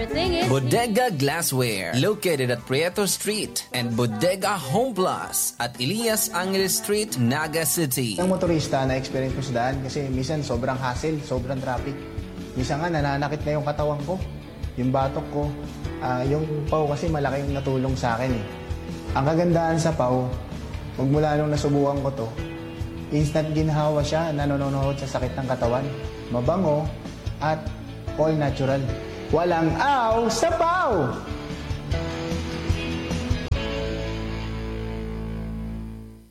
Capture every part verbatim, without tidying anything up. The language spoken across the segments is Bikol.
Bodega Glassware, located at Prieto Street, and Bodega Home Plus at Elias Angeles Street, Naga City. Ang motorista na experience ko sa daan kasi minsan sobrang hassle, sobrang traffic. Minsan nga nananakit na yung katawan ko, yung batok ko. Ah, yung pau kasi malaking natulong sa akin eh. Ang kagandahan sa pau, magmula nung nasubukan ko to, instant ginhawa siya na nanonood sa sakit ng katawan. Mabango at all natural. Walang aw sa pau!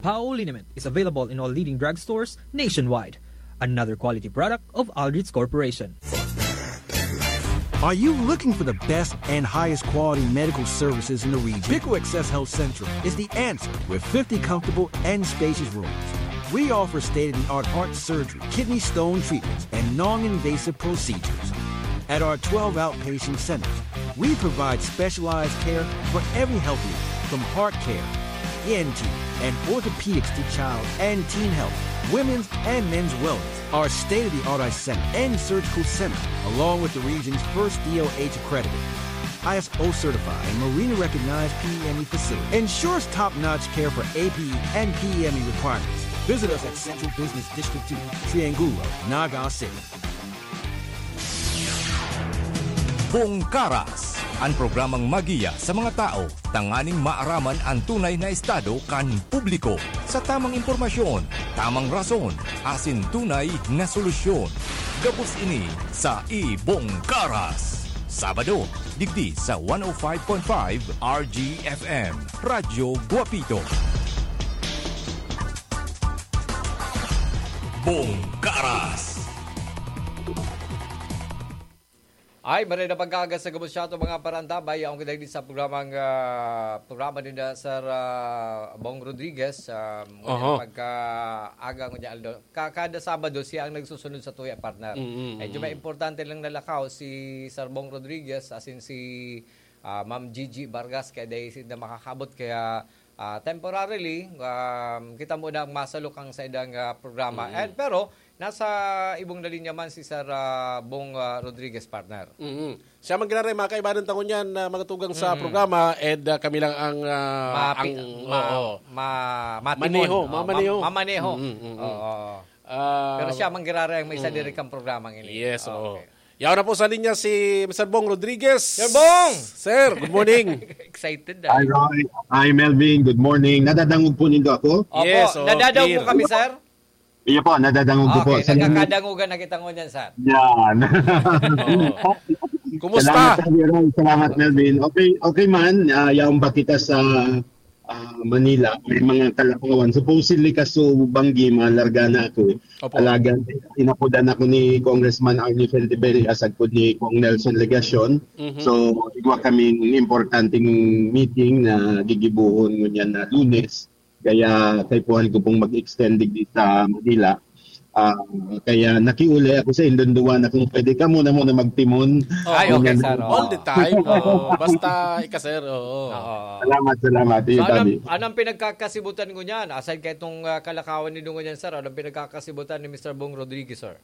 Pau liniment is available in all leading drugstores nationwide. Another quality product of Aldrich Corporation. Are you looking for the best and highest quality medical services in the region? Pico Access Health Central is the answer with fifty comfortable and spacious rooms. We offer state of the art heart surgery, kidney stone treatments, and non invasive procedures. At our twelve outpatient centers, we provide specialized care for every health need, from heart care, E N T, and orthopedics to child and teen health, women's and men's wellness. Our state of the art eye center and surgical center, along with the region's first D O H accredited, I S O certified, and Marina recognized P E M E facility, ensures top notch care for A P E and P E M E requirements. Visit us at Central Business District two, Triangulo, Naga City. Bongkaras, an programang magiya sa mga tao tanganing maaraman an tunay na estado kan publiko. Sa tamang impormasyon, tamang rason, asin tunay na solusyon. Gabos ini sa Ibongkaras. Sabado, digdi sa one oh five point five R G F M, Radyo Guapito. Bongkaras. Ay, maray na pagkaaga sa gabos siya itong mga parantabay. Ang kita sa programang, ah, programa ni na Sir ah, Bong Rodriguez. Ah, Oho. Pagkaaga ko niya, Aldo. Ka- kada Sabado, siya ang nagsusunod sa tuya, partner. Mm, mm, Medyo may mm. importante lang nalakaw si Sir Bong Rodriguez, as in si ah, Ma'am Gigi Vargas, kaya dahil na makakabot. Kaya ah, temporarily, um, kita mo na ang masalukang sa idang ah, programa. Mm. And, pero, nasa ibong na linya man si Sir ah, Bong ah, Rodriguez, partner. Mm-hmm. Siya magkiraray, mga kaibahan tangon yan na magatugang sa Mm. programa, and ah, kami lang ang, ah, Mapi- ang ma- oo. ma- matimon. Maneho, Oo, mamaneho. mam- mamaneho. Mm, mm, mm. Oo. Ah, Pero siya manggiraray ang may isa Mm. diri kang programang ini. Yes, oo. Okay. Yaw na po sa linya si Mister Bong Rodriguez. Sir Bong! Sir, good morning. Excited Hi, ah. Roy. Hi, Melvin. Good morning. Nadadangog po nindo ako? Opo, Yes, oo, nadadangog clear. mo kami, sir? Iyo po, nadadangog ko po. Okay, Salamat. nagkakadangogan na kita ngunyan, sir. Yan. Oo. Kumusta? Salamat, Sir Roy. Salamat, Melvin. Okay, okay man. Ah, yaon pa kita sa ah, Manila. May mga kalakawan. Supposedly, kaso banggi, malarga na ako. Opo. Alaga, inapodan ako ni Congressman Arnie Fuentebella, sagkod ni Cong Nelson Legacion. Mhm. So, igwa kaming importanteng meeting na gigibuhon ngunyan na Lunes. Kaya kaipuhan ko pong mag-extend digdi sa Manila. Ah, kaya nakiulay ako sa indon duwa na kung pwede ka muna muna magtimon. Ay, okay, Muna sir. Oo. All the time. Oo. Basta ika, sir. Oo. Oo. Salamat, salamat. So, Iyo, anong, Daddy. anong pinagkakasibutan ko niyan? Aside kay itong ah, kalakawan ni Dungo niyan, sir, anong pinagkakasibutan ni Mister Bong Rodriguez, sir?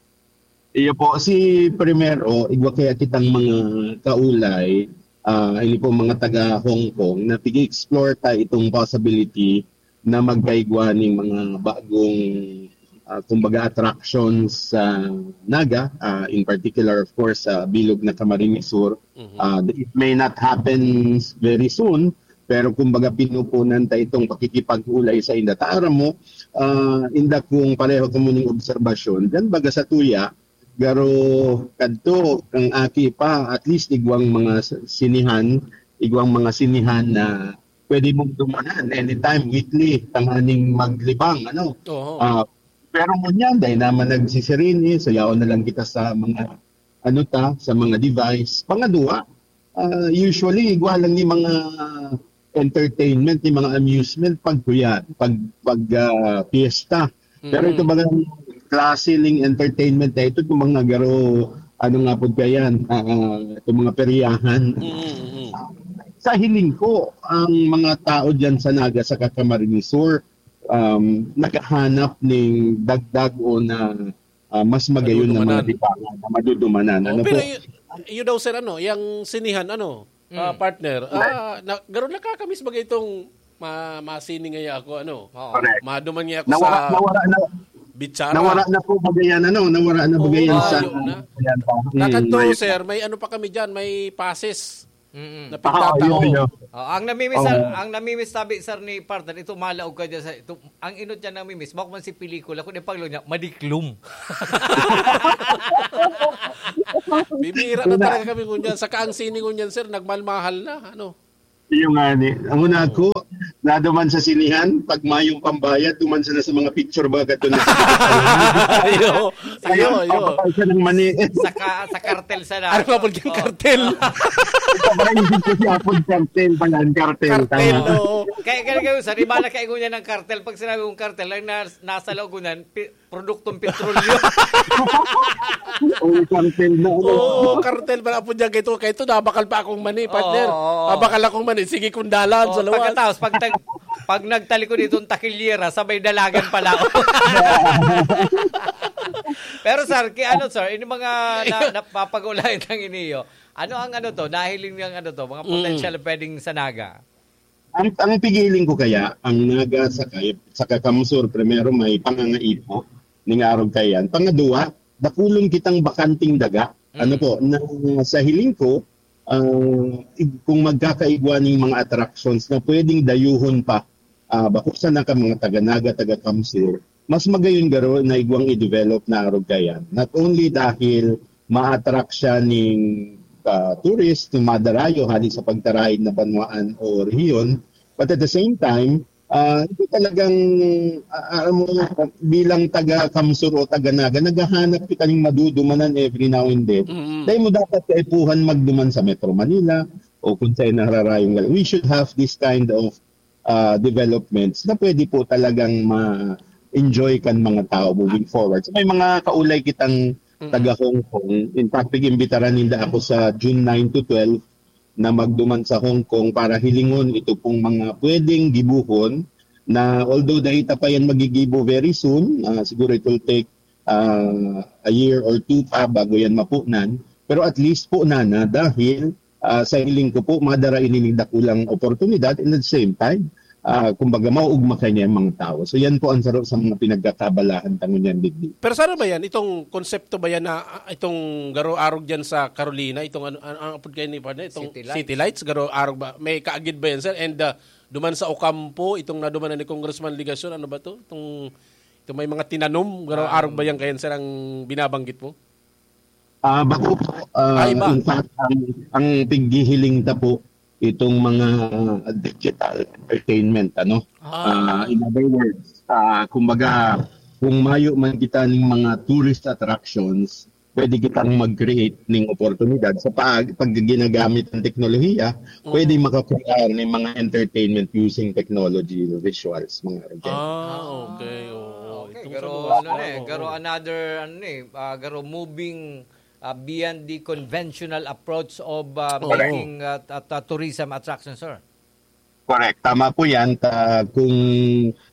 Iyo po, si primero, igwa kaya kitang mga kaulay, ah, ini po mga taga Hong Kong, na pig-explore ta itong possibility na magkaigwa ning mga bagong, ah, kumbaga, attractions sa Naga, ah, in particular, of course, sa bilog na Camarines Sur. Mhm. Ah, it may not happen very soon, pero kumbaga, pinupunan ta itong pakikipag-ulay sa inda. Ta aram mo, ah, inda kung pareho kamo ning obserbasyon, dan baga sa tuya, garo kadto, ang aki pa, at least igwang mga s-, sinihan, igwang mga sinihan na pwede mong dumanan anytime, weekly, tanganing maglibang, ano. Oo. Ah, pero ngunyan, dahil naman nagsisirini, so yaon na lang kita sa mga, ano ta, sa mga device. Pangadwa, ah, usually, igwa lang ni mga entertainment, ni mga amusement, pag kuya, pag, pag ah, piyesta. Pero ito Mm. bagang klase ning entertainment na ito, itong mga garo, ano nga po kaya, ah, ah, itong mga peryahan. Mm, mm. Sa hiling ko, ang mga tao dyan sa Naga, sa Camarines Sur, um, naghahanap ning dagdag o na ah, mas magayon na mga Madudumanan. libangan na madudumanan. Oh, Ano pero po? y- yun daw, sir, ano, yung sinihan, ano, ah, partner, ah, na, garo nakakamiss ba itong ma, masini ngaya ako, ano, Oo. Correct. maduman ngaya ako Nawara, sa nawara na, bitsara. nawara na po bagayan, ano, nawara na Oo, bagayan sa layo na. yan pa. Hmm, Kakanto, may- sir, may ano pa kami dyan, may passes Mm-mm. na Ah, pigtatao. yun, yun. Oh, ang namimiss, sir, Oo. ang namimiss sabi, sir, ni partner, ito malaog ka dyan sa, ito, ang inot niya namimiss, bako man si pelikula, kung ipaglo niya, madiklom. Bibihira na talaga kami ngunyan. Saka ang sini ngunyan, sir, nagmalmahal na. Ano? Yung nga ni, ang una ko, naduman sa sinihan, pag mayong pambayad, duman sila sa mga picture ba, gato na sa Ayo, ayo, ayo. Pagpapal siya ng mani. Sa, ka, sa kartel sa na. Ano nga po yung kartel? Ito ba yung isip ko si Apod Cartel pala, ang cartel. Kartel, Tama. Oo. Kaya kaya kayo, sir, iba na kayo niya ng kartel. Pag sinabi kong kartel, lang nas, nasa laogunan, pi, produktong petrolyo. Oo, cartel na. Ano? Oo, kartel pala po dyan. Kaya ito, kaya ito, nabakal pa akong mani, partner. Oo, oo. Nabakal akong mani. Sige kong dalan Oh, sa luwas. Pagkatapos, pag, tag, pag nagtalikod itong takilyera, sabay dalagan pala. Pero sir, kay ano sir, yung mga na, napapag-ulayan ng iniyo, ano ang ano to, nahiling niyang ano to, mga Mm. potential pwedeng sa Naga? Ang, ang pigiling ko kaya, ang Naga sa, sa Kakamsur, primero may pangangaipo, ning arog kayan. Pangadua, dakulon kitang bakanting daga. Ano po, na sa hiling ko, ah, ig- kung magkakaigwa ning mga attractions na pwedeng dayuhon pa, ah, bako sana ka mga taga-Naga, taga-Kamsur, mas magayon garo na igwang i-develop na arog kayan. Not only dahil ma-attract siya ning ah, tourist na madarayo hali sa pagtaraig na banwaan o rehiyon, but at the same time, ah, ito talagang, ah, alam mo, bilang taga-Kamsur o taga-Naga, naghahanap kita ning madudumanan every now and then. Mm. Dahil mo dapat kaipuhan magduman sa Metro Manila o kung saan nararayong gal-, we should have this kind of ah, developments na pwede po talagang ma-enjoy kan mga tao moving forward. So, may mga kaulay kitang taga Hong Kong. In fact, pag-imbitaran ninda ako sa June nine to twelve na magduman sa Hong Kong para hilingon ito pong mga pwedeng gibuhon na, although dahil pa yan magigibo very soon, ah, siguro it will take ah, a year or two pa bago yan mapunan. Pero at least po na na dahil ah, sa hiling ko po, madara ini ning dakulang oportunidad, and at the same time, ah, kumbaga, mauugma kanya ang mga tao. So yan po ang saro sa mga pinagkakabalahan ta ngunyan digdi. Pero saan ba yan? Itong konsepto ba yan na ah, itong garo arog dyan sa Carolina? Itong ano, ano, ano apod kayo ni partner? Itong City Lights. City Lights, garo arog ba? May kaagid ba yan, sir? And ah, duman sa Ocampo, itong naduman na ni Congressman Legacion, ano ba to? Itong, itong may mga tinanom, garo arog ba yan kayan, sir, ang binabanggit mo? Ah, bako po, ah, Ah, iba. In fact, ang, ang pighihiling ta po, itong mga digital entertainment, ano? Ah, in other words, ah, kumbaga, kung mayo man kita ning mga tourist attractions, pwede kitang mag-create ning oportunidad sa pag, pag ginagamit ang teknolohiya, pwede makakuha ng mga entertainment using technology, visuals, mga ganyan. Ah, okay. Oo. Okay, Itong pero sa luwas, ano na eh, oo. pero another ano eh, ah, pero moving ah, beyond the conventional approach of ah, Oo. making ah, at, at, ah, tourism attraction, sir. Correct. Tama po yan. Ta, kung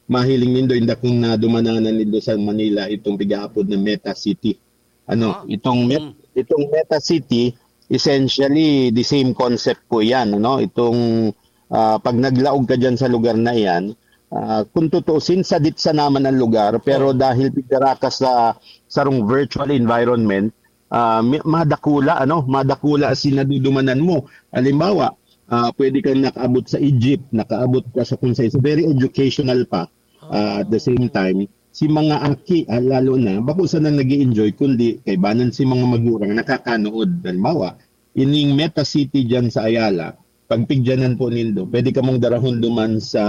mahiling nindo, inda kung nadumananan nindo sa Manila, itong pigaapod na Meta City. Ano, Ah. itong Met, itong Meta City, essentially the same concept po yan, ano? Itong ah, pag naglaog ka diyan sa lugar na iyan, ah, kung tutuusin, sadit sa naman ang lugar, pero dahil pigdara ka sa sarong virtual environment, ah, mi- madakula, ano, madakula si nadudumanan mo. Halimbawa, ah, pwede kang nakaabot sa Egypt, nakaabot ka sa kung sa very educational pa. Ah, at the same time, si mga aki, ah, lalo na, bako sana nag enjoy kundi kaibanan si mga magurang nakakanood. Halimbawa, ining Meta City dyan sa Ayala, pagpigyanan po nindo, pwede ka mong darahon duman sa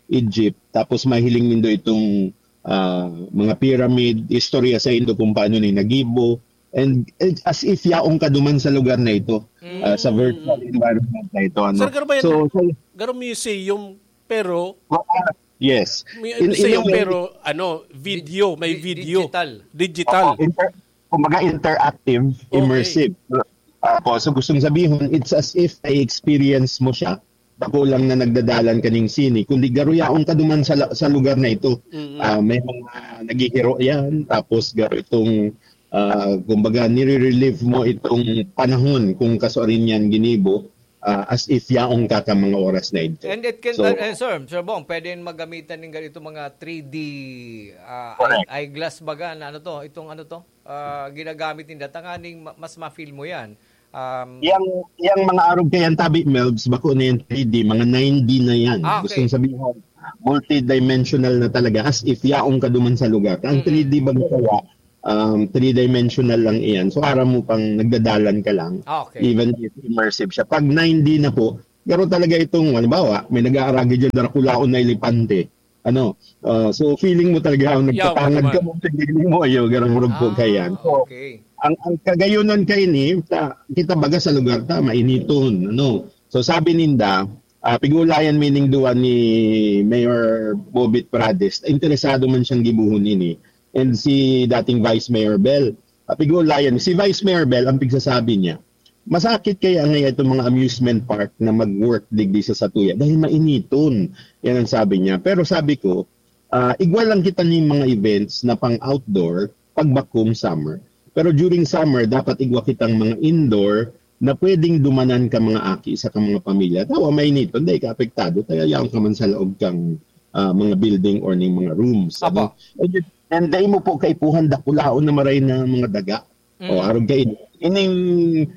Egypt, tapos mahiling nindo itong ah, mga pyramid, istorya sa indo kung paano ni nagibo, and, and as if yaong ka duman sa lugar na ito, ah, sa virtual environment na ito. Ano? Sir, garo ba yan? So, so, Garo museum, pero ah, yes. may In- in a museum, way, pero ano, video, may Di- video. digital. Digital. Oo, inter- kumbaga interactive, Okay. immersive. Apo, so gustong sabihin, it's as if na-experience mo siya bako lang na nagdadalan kaning sini, kundi garo yaon ka duman sa la-, sa lugar na ito. Mm. Ah, may mga naghihiro yan, tapos garo itong, ah, kumbaga, nire-relieve mo itong panahon kung kasuarin yan ginibo, ah, as if yaon ka ka mga oras na ito. And it can, So, uh, uh, sir, Sir Bong, pwede yun maggamitan ng ganito mga three D, ah, Correct. eye-, eyeglass baga na ano to, itong ano to, ah, ginagamit ninda, tanganing ma-, mas ma-feel mo yan. Um, Yang, yang mga arog kayan tabi, Melbs, bako na yan three D, mga nine D na yan. Ah, okay. Gustong sabihin, multidimensional na talaga, as if yaon ka duman sa lugar. Ang Mm-mm. three D bang kaya, um, three-dimensional lang iyan. So, aram mo pang nagdadalan ka lang, Ah, okay. even if immersive siya. Pag nine D na po, garo talaga itong, halimbawa, may nag-aaragi dyan, darakulaon na elepante. Ano, ah, so feeling mo talaga ang Yaw, nagtatangad naman. ka mo, feeling mo, ayo, garang murag po Ah, kayan. So, okay. ang, ang kagayunan kaini, ta, kita baga sa lugar ta, mainiton, ano. So, sabi ninda, ah, pigulayan meaning duwa ni Mayor Bobit Prades, interesado man siyang gibuhon ini, and si dating Vice Mayor Bel. Ah, pigulayan, si Vice Mayor Bel, ang pigsasabi niya, "Masakit kaya ngayon itong mga amusement park na mag-work digdi sa satuya dahil mainiton." Yan ang sabi niya. Pero sabi ko, ah, igwa lang kita ning mga events na pang outdoor pag bakong summer. Pero during summer, dapat igwa kitang mga indoor na pwedeng dumanan ka mga aki sa ka mga pamilya. Tawa, mainiton, dahil ka apektado, kaya yaon ka man sa laog kang, ah, mga building or ning mga rooms. Apo. Ano? And, and dahil mo po kaipuhan, dakulaon na maray na mga daga. O, Mm. arog kayo. Ining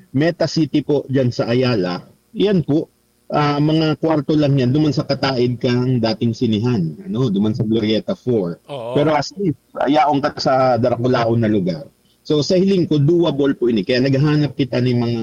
Meta City po dyan sa Ayala, yan po, ah, mga kwarto lang yan, duman sa kataid kang dating sinihan, ano, duman sa Glorieta four. Oo. Pero as if, yaon ka sa darakulaon na lugar. So, sa hiling ko, doable po ini. Kaya naghahanap kita ni mga,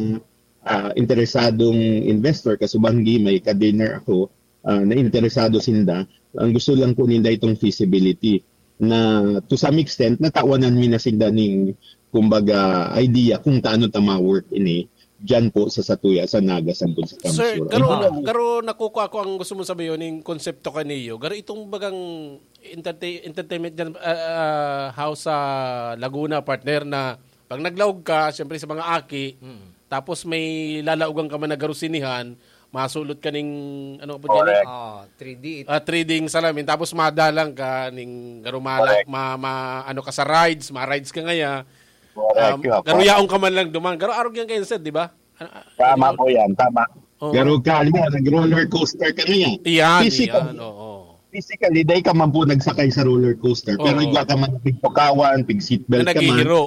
ah, interesadong investor, kasubanggi, may ka-dinner ako, ah, na interesado sinda. Ang gusto lang po ninda itong feasibility na to some extent, natawanan mi na sinda ning, kumbaga, idea kung taano ta ma-work ini dyan po sa satuya, sa Naga, Sambon, sa Sir, Kamsur. Garo, Ah. garo nakukuha ko ang gusto mong sabihin, yung konsepto kaniyo. Garo itong bagang entertain-, entertainment dyan, ah, ah, house sa Laguna, partner, na pag naglaog ka, siyempre sa mga aki, Mm. tapos may lalaogan ka man na garo sinihan, masulot ka ning, ano po dyan, Correct. Ah, three D. Ah, three D salamin, tapos madalang ka ning garo mala-, Correct. ma-, ma-, ano ka sa rides, ma-rides ka ngaya. Correct, Um, yeah, correct. Garuyaon ka man lang duman. Garo arog yan kayo, sir, di ba? Ano, ano Tama yun? po yan, tama. Oo. Garo ka, halimbawa, nag-roller coaster ka ngayon. Iyan, Physical. iyan, oo. Physically, dahil ka man po nagsakay sa roller coaster, pero Oo. igwa ka man pigtukawan, pig seatbelt Na ka man, naghihiro.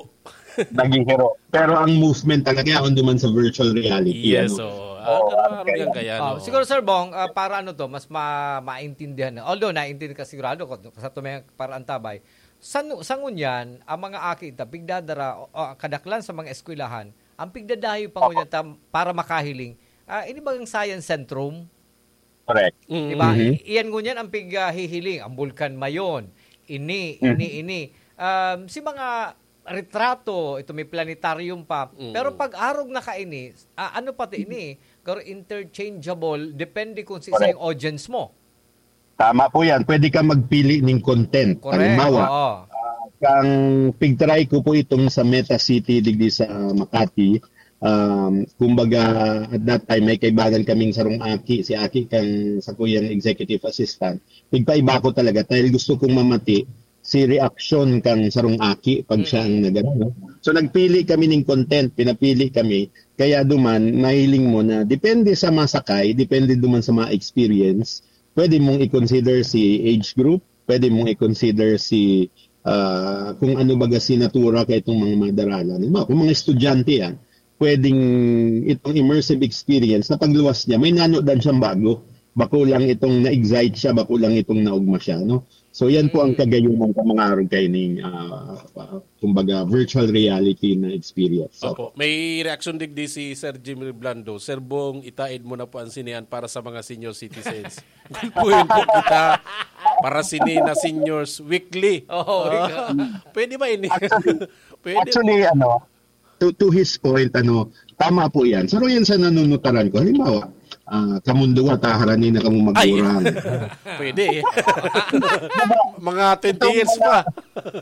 naghihiro. Pero ang movement talaga, yaon duman sa virtual reality, Yes, ano? oo. Ah, Oo, ganun, okay. Yan kaya, Ah, no? siguro, Sir Bong, ah, para ano to, mas ma-, maintindihan na. Although, naintindihan ka sigurado ko, sa tumay para antabay. Sa nu-, sa ngunyan, ang mga aki ta, pigdadara, o, o, kadaklan sa mga eskwelahan, ang pigdadayo pa Opo. ngunyan ta, para makahiling, ah, ini bagang science centrum, Correct. Mm. Di ba? Mhm. I-, iyan ngunyan ang pig, ah, hihiling. Ang Bulkan Mayon. Ini, Mhm. ini, ini. Um, si mga retrato, ito may planetarium pa. Mm. Pero pag arog na kaini, ah, ano pati ini? Pero interchangeable, depende kung si Correct. yung audience mo. Tama po yan. Pwede ka magpili ng content. Correct. Halimbawa, Oo. ah, kang pigtry ko po itong sa Meta City, digdi sa Makati. Um, kumbaga, at that time, may kaibagan kaming sarong aki, si aki kang sa kuyang executive assistant. Pigpaiba ko talaga dahil gusto kong mamati si reaksyon kang sarong aki pag siya ang Mm. nagano, no? So, nagpili kami ning content, pinapili kami. Kaya duman, mahiling mo na depende sa masakay, depende duman sa mga experience, pwede mong i-consider si age group, pwede mong i-consider si, ah, kung ano baga si natura ka itong mga madaralan. Halimbawa, kung mga estudyante yan, pwedeng itong immersive experience na pagluwas niya, may nanodan siyang bago. Bako lang itong na-excite siya, bako lang itong naugma siya, no? So, yan po ang Mm. kagayunan sa mga arog kayo ning, ah, ah, kumbaga, virtual reality na experience. So, Opo. May reaksyon digdi si Sir Jimmy Blando. "Sir Bong, itaid mo na po ang sinehan para sa mga senior citizens." Gulpuhin po kita para sini na Seniors Weekly. Oo, Ah, ikaw. pwede ba ini? Actually, Pwede. actually, ano, to, to his point, ano, tama po yan. Saro yan sa nanunutaran ko. Halimbawa, ah, kamundungan, taharani na kamo Ay. magurang. Pwede eh. Mga twenty Itong years mga, pa.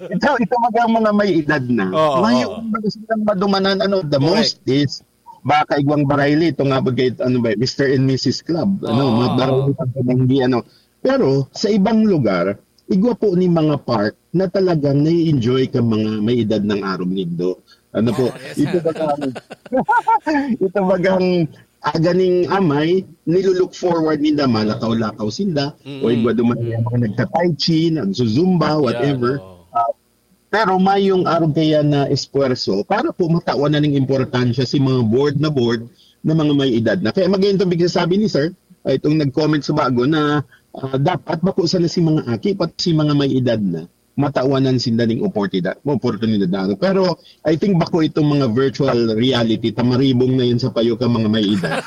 ito, ito mga, mga may edad na. Oo, May oo. yung mga silang madumanan, ano, the Correct. most is Baka igwang barayli, ito nga ba kay, ano ba, Mister and Missus Club, ano, mga Oo. barayli pagkabanggi, ano. Pero sa ibang lugar, igwa po ni mga park na talagang nai-enjoy ka mga may edad ng arog nindo. Ano po, Oh, yes. ito bagang, ito bagang aganing amay, nilulook forward ninda, malakaw-lakaw sinda, o Mm. igwa duman yung mga nagta-tai chi, nagzuzumba, Yeah, whatever. oo. Ah, pero may yung arog kaya na esfuerzo para po matawan na ning importansya si mga bored na bored na mga may edad na. Kaya magayon itong bigla sabi ni Sir, ay itong nag-comment sa bago na, ah, dapat bako sana si mga aki, pati si mga may edad na, matawanan sinda ning oportunidad, oportunidad na ano. Pero I think bako itong mga virtual reality, tamaribong na yun sa payo ka mga may edad.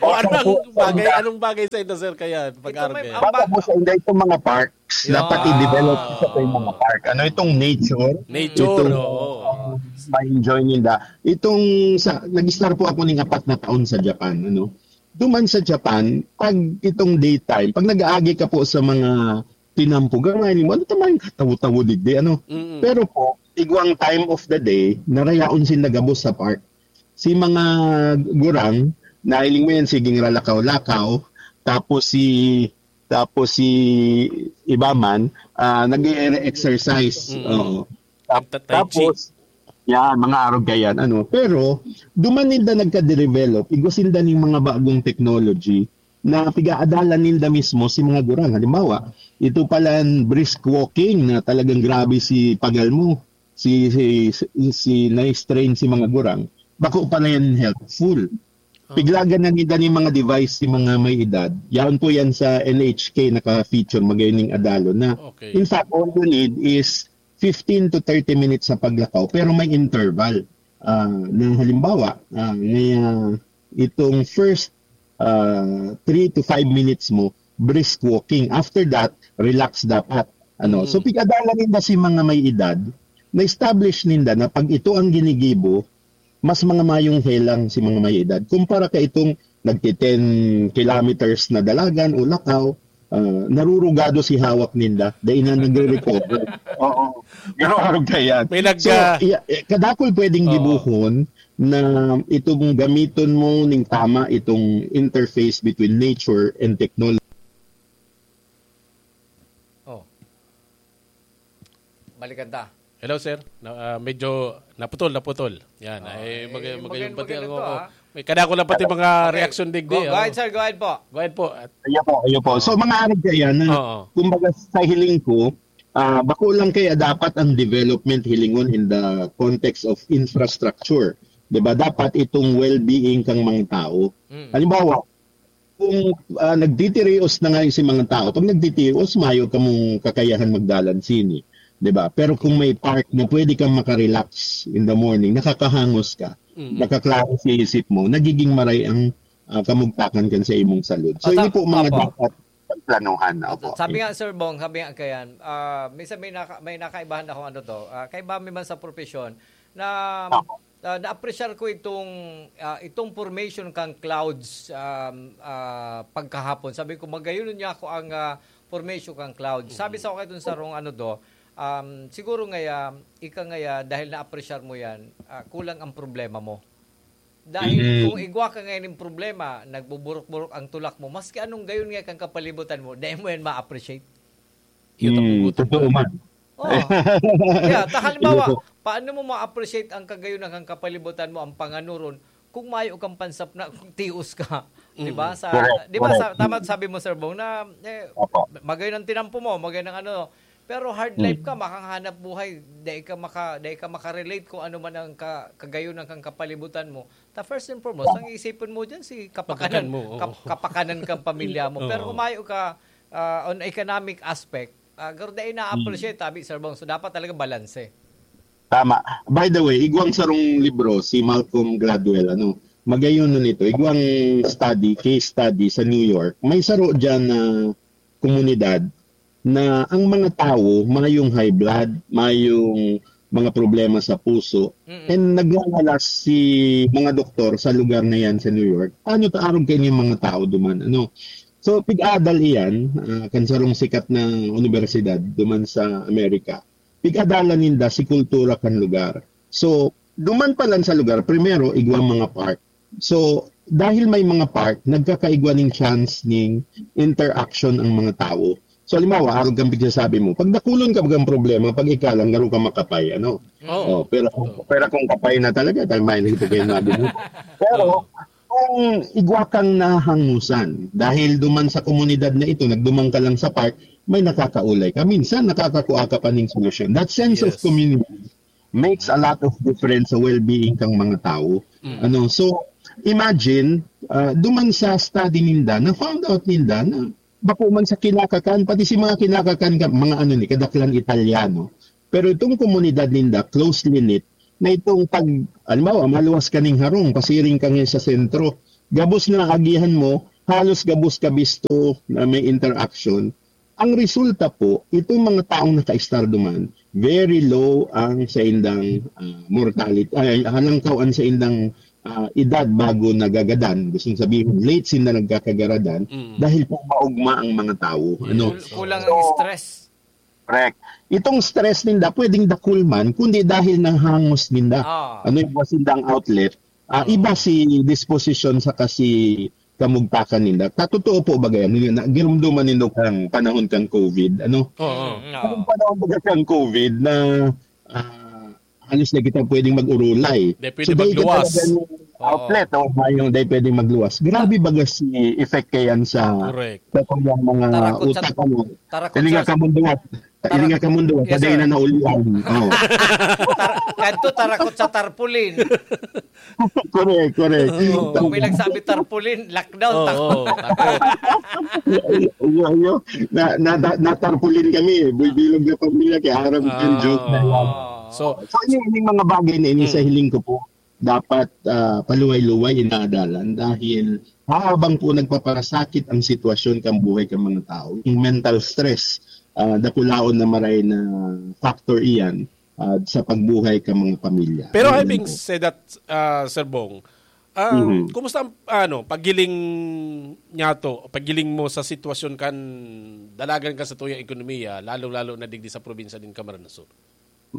O anong bagay, anong bagay sa inyo, sir, kaya pag-arog Ito may kaya? Baka po sa inda itong mga parks, Yan. dapat i-develop sa itong mga park. Ano itong nature? Nature, Itong oo. ma-enjoy ninda. Itong sa, nag-start po ako ning apat na taon sa Japan, ano? Duman sa Japan, pag itong daytime, pag nag-aagi ka po sa mga tinampo, gamay mo, ano tama yung katawo-tawo digdi, ano? Mm-mm. Pero po, igwang time of the day, narayaon sin nagabos sa park. Si mga gurang, nahiling mo yan, siging ralakaw-lakaw, tapos si, tapos si iba man, ah, nag-e-exercise. Mm. Oo. Tap- Nagta-tai chi. Tapos, yan, mga arog yan, ano. Pero, duman ninda nagka-develop, igwa sinda ning mga bagong technology na pigaadalan ninda mismo si mga gurang. Halimbawa, ito palan brisk walking na talagang grabe si pagal mo, si, si, si, si na-strain si mga gurang. Bako pala yan helpful. Oh. Piglagan na ninda ni mga device si mga may edad. Yaon po yan sa N H K naka-feature, magayon ning adalon na. Okay. In fact, all you need is fifteen to thirty minutes sa paglakaw, pero may interval. Ah, na halimbawa, ah, ngaya itong first, ah, three to five minutes mo, brisk walking. After that, relax dapat. Ano, so Mm. pigadalan ninda si mga may edad, na-establish ninda na pag ito ang ginigibo, mas mga mayong helang si mga may edad. Kumpara ka itong nagti-ten kilometers na dalagan o lakaw, ah, narurugado si hawak ninda, dahil na nagre-recover. Oo. Pero arog ka yan. May nag- So, ah, iya- eh, kadakol pwedeng Oo. gibuhon na itong gamiton mo ning tama itong interface between nature and technology. Oh. Balikan ta. Hello, sir. Na, ah, medyo naputol, naputol. Yan. Oh, Ay, eh, mag- magayong magayong pati magayong ang to, ah. May kadako lang pati mga Pati- reaction digdi, Go, go oh. ahead, sir. Go ahead po. Go ahead po. At Ayan po, ayan po. So, mga arog kaya na, Oo. kumbaga sa hiling ko, ah, bako lang kaya dapat ang development hilingon in the context of infrastructure. 'Di ba? Dapat itong well-being kang mga tao. Mm. Halimbawa, kung, ah, nagtitirios na nga yung si mga tao, pag nagtitirios, mayo kamong kakayahan magdalan sini. 'Di ba? Pero kung may park na pwede kang makarelax in the morning, nakakahangos ka, Mm. nakaklaro sa isip mo, nagiging maray ang, ah, kamugtakan kan sa imong salud. So, Ata- ini po mga Apo. dapat pagplanuhan. At Opo. sabi nga, Sir Bong, sabi nga kayan, ah, minsan may, naka, may nakaibahan akong ano to, ah, kaiba mi man sa profesyon, na Opo. ah, na-appreciate ko itong, ah, itong formation kang clouds, um, ah, pagkahapon. Sabi ko, "Magayon niya ako ang, ah, formation kang clouds." Sabi sa akin itong sarong ano do, um, "Siguro ngaya, ika ngaya, dahil na-appreciate mo yan, ah, kulang ang problema mo." Dahil Mm. kung igwa ka ngayon ng problema, nagbuburok-burok ang tulak mo, maski anong gayon nga kang kapalibutan mo, dahil mo yan ma-appreciate. Yun ang Mm, ugot totoo mo. man. Oh. Yeah, ta halimbawa, Iyo po. paano mo ma-appreciate ang kagayon ng kapalibutan mo, ang panganuron, kung mayo kang pansap na kung tios ka? 'Di ba? Mm. Sa, Correct, 'di ba, sa, correct. tama sabi mo, Sir Bong, na eh, Opo. magayon ang tinampo mo, magayon ang ano, pero hard life Mm. ka, makakahanap buhay, dai ka maka, dai ka makarelate kung ano man ang ka, kagayon ng kang kapalibutan mo. Ta first and foremost, ang isipin mo diyan si kapakanan, Pagkakan mo, oo. kap, kapakanan kang pamilya mo. Pero Oo. kung mayo ka ah, on economic aspect, ah, garo dai na-appreciate, tabi, Sir Bong. So, dapat talaga balanse. Tama. By the way, igwang sarong libro, si Malcolm Gladwell, ano, magayon na nito. Igwang study, case study sa New York. May saro dyan na komunidad na ang mga tawo, mayong high blood, mayong mga problema sa puso, Mm-mm. and naglalalas si mga doktor sa lugar na yan sa New York. Paano ta arog kayo yung mga tao duman? Ano? So, pig-adal iyan, ah, kan sarong sikat na universidad duman sa Amerika. Pig-adalan ninda si kultura kan lugar. So, Duman pa lang sa lugar, primero, igwa mga park. So, dahil may mga park, nagkakaigwa ning chance ning interaction ang mga tao. So, halimbawa, arog kang pigsasabi mo, pag nakulon ka bagang problema, pag ikalang, garo ka makapay, ano? Oo. Oh, pero, pero kung kapay na talaga, dahil may nito kayo nabi mo. Pero, kung igwa kang nahangusan, dahil duman sa komunidad na ito, nagduman ka lang sa park, may nakakaulay ka. Minsan, nakakakua ka pa ning solusyon. That sense of Yes. community makes a lot of difference sa well-being kang mga tao. Ano, so, imagine, ah, duman sa study ninda, na found out ninda na bako man sa kinakakan, pati si mga kinakakan ka, mga ano ni, kadaklan Italiano. Pero itong komunidad ninda, closely knit, na itong pag, halimbawa, maluwas ka ning harong, pasiring ka ngayon sa sentro, gabos na agihan mo, halos gabos ka bisto na may interaction. Ang resulta po, itong mga taong naka-star duman, very low ang sa indang ah, mortality, ay, halangkaw ang sa indang ah, edad bago nagagadan. Gusto sabihin, late sinda nagkakagaradan Mm. dahil po maugma ang mga tao. Ano? Kul- Kulang So, ang stress. Correct. Itong stress ninda, pwedeng dakul man, kundi dahil nang hangos ninda. Ah. Ano yung sindang outlet? Ah, iba si disposition sa kasi kamugtakan ninda. Katotoo po ba ganyan? Yung na, girumduman nindo kang panahon kang COVID, ano? Oo. Mm, Ang oo. panahon ba kang COVID na ah, halos na kita pwedeng mag-urulay. Di pwede magluwas. Talaga yung outlet o mayong di pwedeng magluwas. Grabe baga si effect kayan sa Correct. sa kanyang mga Tarakot sa- utak, ano? tarakot Hilinga sa- ka munduwat. Hilinga ka munduwat. Yes, Kaday sir. na naulian. Oh. Tar- Kadto tarakot sa tarpaulin. Correct, correct. Oo. Kung may nagsabi tarpaulin, lockdown, Oo, takot. Takot. Iyo, iyo. Na, na, na, natarpaulin kami. Buy bilog na pamilya, kaya harap yung Ah. joke na yan. So, So, yun yung mga bagay na ini sa Mm. hiling ko po, dapat ah, paluway-luway inaadalan dahil habang po nagpaparasakit ang sitwasyon kang buhay kang mga tao, yung mental stress, ah, dakulaon na maray na factor iyan ah, sa pagbuhay kang mga pamilya. Pero Ayan having po. said that, uh, Sir Bong, ah, Mhm. kumusta ang ano, paggiling niya to, paggiling mo sa sitwasyon kan dalagan ka sa tuyang ekonomiya, lalo-lalo na digdi sa probinsya din Camarines Sur?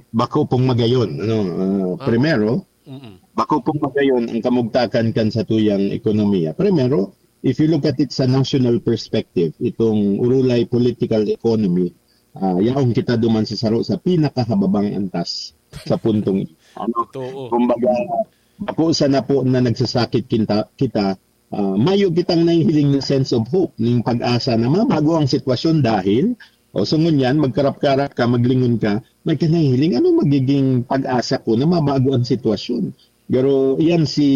Bako pong magayon. Ano, ah, Ah. Primero, Mm-mm. bako pong magayon ang kamugtakan kan sa tuyang ekonomiya. Primero, if you look at it sa national perspective, itong urulay political economy, ah, yaon kita duman sa saro sa pinakahababang antas sa puntong ito. Ano? Totoo. Kumbaga, ako sana po na nagsasakit kita, kita ah, mayo kitang nahihiling na sense of hope, ning pag-asa na mabago ang sitwasyon dahil, o so ngunyan, magkarap-karap ka, maglingon ka, may ka nahihiling, ano magiging pag-asa ko na mabago ang sitwasyon? Pero yan si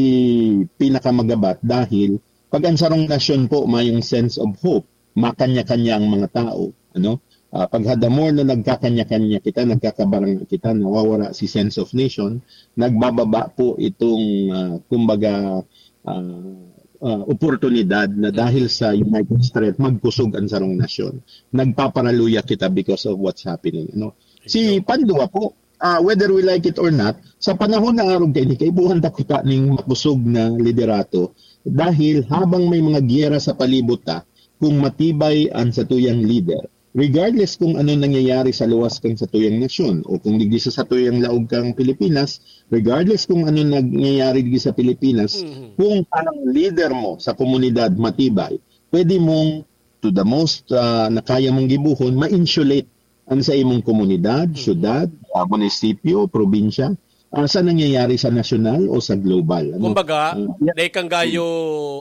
pinakamagabat dahil pag ang sarong nasyon po mayong sense of hope, makanya-kanya ang mga tao. Ano? Ah, pag the more na nagkakanya-kanya kita, nagkakabarangay kita, nawawara si sense of nation, nagbababa po itong, ah, kumbaga, ah, ah, oportunidad na dahil sa united strength, magkusog ang sarong nasyon. Nagpaparaluya kita because of what's happening. Ano? Si pandua po, ah, whether we like it or not, sa panahon na arog kaini, kaibuhan ta kita ning makusog na liderato dahil habang may mga giyera sa palibot ta, kung matibay ang satuyang leader, regardless kung ano nangyayari sa luwas kang satuyang nasyon o kung digdi sa satuyang laog kang Pilipinas, regardless kung ano nangyayari digdi sa Pilipinas, Mhm. kung ang leader mo sa komunidad matibay, pwede mong, to the most ah, na kaya mong gibuhon, ma-insulate ang sa imong komunidad, syudad, ah, munisipyo, probinsya, ah, sa nangyayari sa nasyonal o sa global. Ano? Kumbaga, Ah, yeah. Dai kang gayo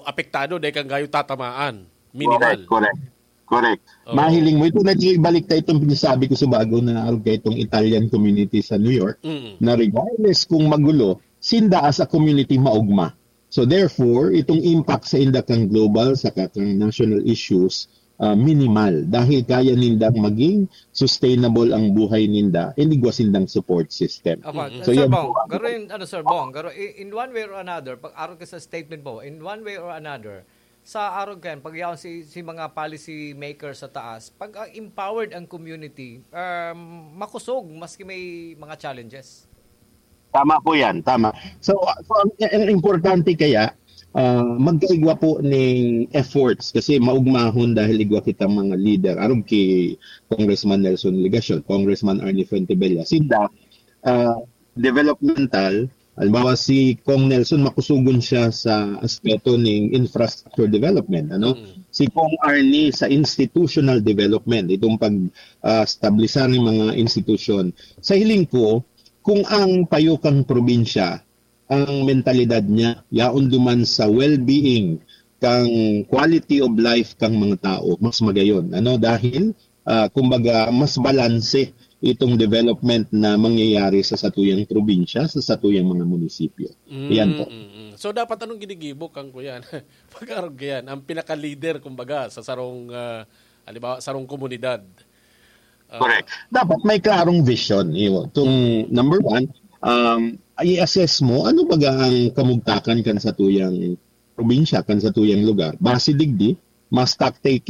apektado, dai kang gayo tatamaan. Minimal. Correct, correct. Correct. Oo. Mahiling mo, ito na yung ibalik tayo itong pinasabi ko sa bago na arog kayo itong Italian community sa New York, Mm. na regardless kung magulo, sinda as a community maugma. So therefore, itong impact sa inda kang global, sa kang national issues, ah, minimal. Dahil kaya nindang maging sustainable ang buhay ninda, inigwa sindang support system. Apa, So, Sir yan Bong, po. garo yung, ano, Sir Bong, garo, i- in one way or another, pag arog ka sa statement mo, in one way or another, sa arog ka yan, pag yaon si, si mga policy makers sa taas, pag ah, empowered ang community, um, makusog maski may mga challenges. Tama po yan, tama. So, so ang, ang importante kaya, ah, magkaigwa po ning efforts kasi maugmahon dahil igwa kitang mga leader. Arog ki Congressman Nelson Legacion, Congressman Arnie Fuentebella, sinda, ah, developmental, Halimbawa, si Kong Nelson, makusugon siya sa aspeto ning infrastructure development, ano? Mm. Si Kong Arnie sa institutional development, itong pag ah, establisar ning mga institusyon. Sa hiling ko, kung ang payo kan probinsya, ang mentalidad niya, yaon duman sa well-being, kang quality of life kang mga tao, mas magayon. Ano? Dahil, ah, kumbaga, mas balanse itong development na mangyayari sa satuyang probinsya, sa satuyang mga munisipyo. Yan po. Mm, mm. So, dapat anong ginigibo kang kuyan? Pag-arog yan, ang pinaka-leader, kumbaga, sa sarong, ah, halimbawa, sarong komunidad. Ah, Correct. Dapat may klarong vision. Iyo. Itong number one, um, i-assess mo, ano baga ang kamugtakan kan satuyang probinsya, kan satuyang lugar? Base digdi, mas taktik